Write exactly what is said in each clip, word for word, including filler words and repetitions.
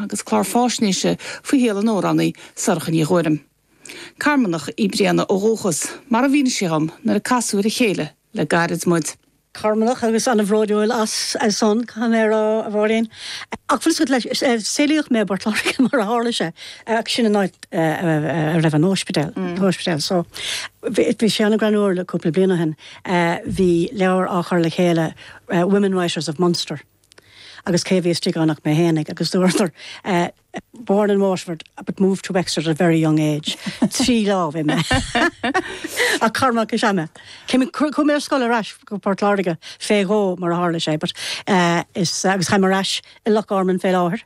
agus clár faisnéise faoi shaol an amhránaí Sorcha Ní Ghuairim. Carmanach í Bríona ó dhúchas, mar a mhínigh sí dom nuair a casadh ar a chéile le gairid muid. Carmanach agus an-bhródúil as as san caméra a bhóín. Ach fuil leis saolaíodh mé i bPort Láirge mar a tharla sé ach sin an áit a raibh an ospidéal ospidéal so bhí sé an-ghreannmhar le cúpla bliain ó shin bhí leabhar á chur le chéile Women Writers of Munster. agus cé bhí istigh ann ach mé féinig agus dúradar born in Waterford but moved to Wexford at a very young age. Trí lá bhí mé. A Carmach is eme. Chuaigh mé ar scoil ar ais go Port Láirge fé dhó mar a tharla sé, but uh, is agus táim ar ais i Loch Garman fé láthair.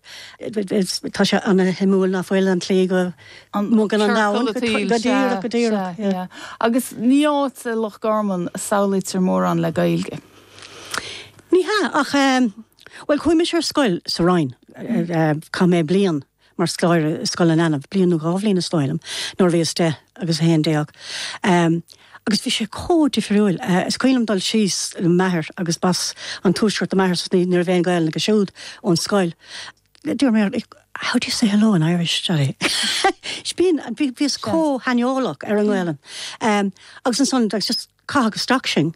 Tá sé an-shuimiúil nach bhfuil an tslí go mbogann an domhan go díreach go díreach. Agus ní áit é Loch Garman a samhlaítear mórán le Gaeilge. Ní hea ach um, Well chuaigh mise ar scoil sa Rinn chaith mé bliain mar scoláire Scoil na Leanbh, bliain nó dhá bhliain is dóigh liom, nuair bhíos deich agus a haon déag. Um, agus bhí sé chomh difriúil uh, is cuimhin liom dul síos le m'athair agus b'as an tuaisceart do m'athair ní ní raibh aon Ghaeilge acu siúd ón scoil. Dúirt mé how do you say hello in Irish Daddy? Bíon bhíos chomh haineolach ar an nGaelainn. Um, agus ansan just caitheadh isteach sinn.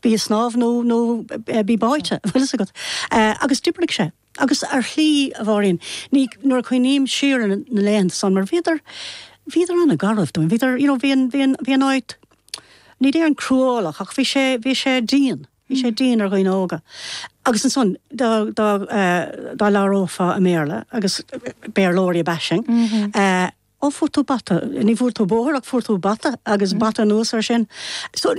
Bí snámh nó nó bí báite bhfuil agat. Agus d'oibrigh sé. Agus ar shlí a bhóín ní nuair a chuimhním siar na laethanta san mar bhíodar bhíodar an-gharbh dúinn, bhíodar you know, bhí bhí an áit ní déarfainn cruálach ach bhí sé bhí sé dian. Bhí sé dian ar dhaoine óga. Agus ansan dá dá labhrófá i mBéarla agus Béarlóirí ab ea sinn. Mm -hmm. uh, ó fuair tú bata, ní fuair tú bóthar ach fuair tú bata agus mm. bata anuas ar sin. So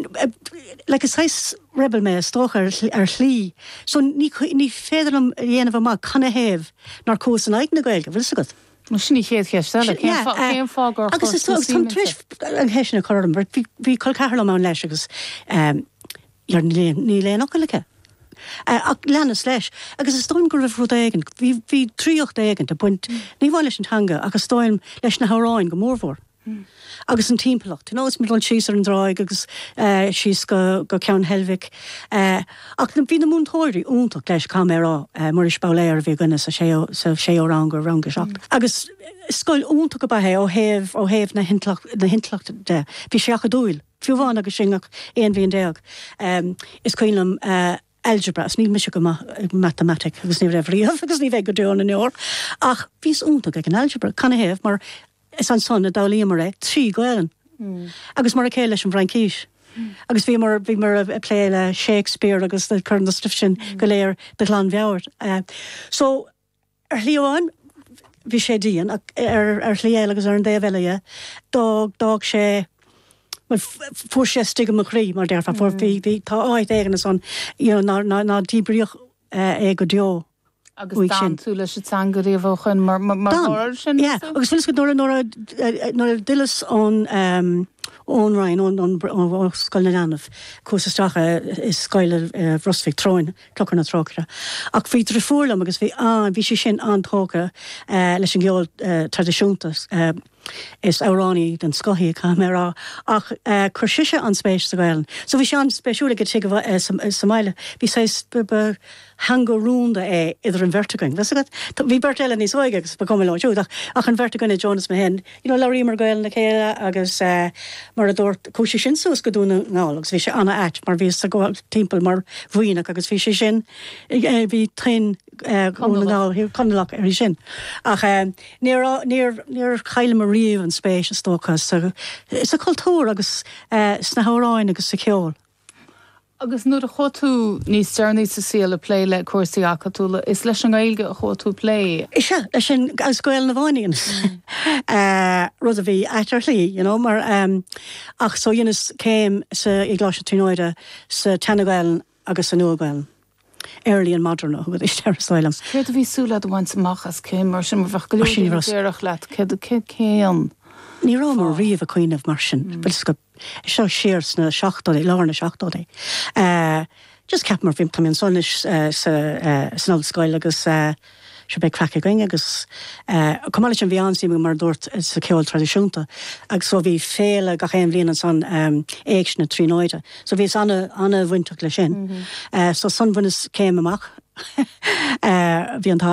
like is saghas rebel mé is dócha ar, ar shlí. So ní, ní féidir liom dhéanamh amach canathaobh nár chuas in aghaidh na Gaeilge, bhfuil agat. Sin í chéad cheist eile cén fáth gur agus tar an cheist sin a chur orm, bhí col ceathar liom ann leis agus um, níl aon fhocal aici. Uh, ach leanas leis, agus is dóigh go raibh rud éigin, bhí draíocht éigin ag baint ní amháin leis an teanga agus dóigh leis na hamhráin go mórmhór. Mm. Agus an timpeallacht, you know, is dul síos ar an dtráigh agus uh, síos go, go Ceann Heilbhic. Uh, ach bhí na múinteoirí iontach leis camerá uh, Muiris Bowler bhí againne sa séú sa séú rang go rang a seacht. Mm. Agus scoil iontach ab ea é ó thaobh ó thaobh na na hintleacht de. Bhí sé acadúil, fiú amháin agus sinn ach aon bhliain déag. Um, is cuimhin liom uh, algebra, níl mise go matamaitic agus ní raibh riamh agus ní bheidh go deo na ndeor ach bhíos iontach ag an algebra canathaobh mar is ansan a d'fhoghlaimíomar é trí Ghaelainn. Mm. Agus mar a chéile leis an bhFraincis. Mm. Agus bhí mar bhí mar a plé le Shakespeare agus chur na stuif sin mm. go léir de ghlanmheabhair. Uh, so ar shlí amháin bhí sé dian ar ar shlí eile agus ar an dtaobh eile d'fhág sé fuair sé istigh i mo chroí mar déarfá fuair bhí bhí tá áit éigin ansan ná ná díbríodh é go deo. Agus d'fhan tú leis an teanga riamh ó shin mar mar sin? Yeah, agus fuil nuair nuair a d'fhilleas ón ón Rinn ón Scoil na Leanbh chuas isteach i scoil Ros Mhic Treoin Clochar na Trócaire. Ach bhí deirfiúr liom agus bhí an bhí sí sin an-tógtha leis an gceol traidisiúnta is amhránaí den scoth í caithfidh mé a rá ach chuir sise an spéis sa Ghaelainn. So bhí sé an-spéisiúil ag tigh sa mbaile, bhí sé teanga rúnda é idir an bheirt againn. Bhí beirt eile níos óige agus ba chuma leo siúd ach ach an bheirt againne Jonas mé féin, you know, labhraíomar Gaelainn le chéile agus uh, mar a dúirt chuaigh sí sin suas go Dún na nGall agus bhí sé an-ait mar bhí ag gabháil timpeall mar bhuíonach agus bhí sé sin eh, bhí tuin Dún Conallach ar sin. Ach uh, níor níor chailleamar riamh an spéis is dócha sa, sa cultúr agus uh, sna hamhráin agus sa cheol. Agus nuair a chuaigh tú níos deireanaí sa saol ag plé le cúrsaí acadúla, is leis an nGaeilge a chuaigh tú ag plé. Is ea leis an as Gaelainn amháin uh, rud a bhí ait ar shlí, you know, mar um, ach so dheineas céim sa i gColáiste na Tríonóide sa tSean-Ghaelainn agus sa Nua-Ghaelainn. Early and modern thug isteach liom. Céard a bhí súil agat a bhaint amach as céim mar sin bheadh go leor leat céad céan. Ní raibh mar riamh ag cuimhneamh mar sin go seo siar sna seachtóidí lár na seachtóidí. Uh, just ceap mar bhí tá an sonis uh, sa uh, san ollscoil agus uh, se beidh craic againn agus chomh maith leis an bhí an-suim mar dúirt sa ceol traidisiúnta agus so bhí féile gach aon bhliain ansan um, Éigse na Tríonóide. So bhíos an- an-bhainteach le sin. Mm -hmm. uh, so san bhaineas céim amach uh, bhí an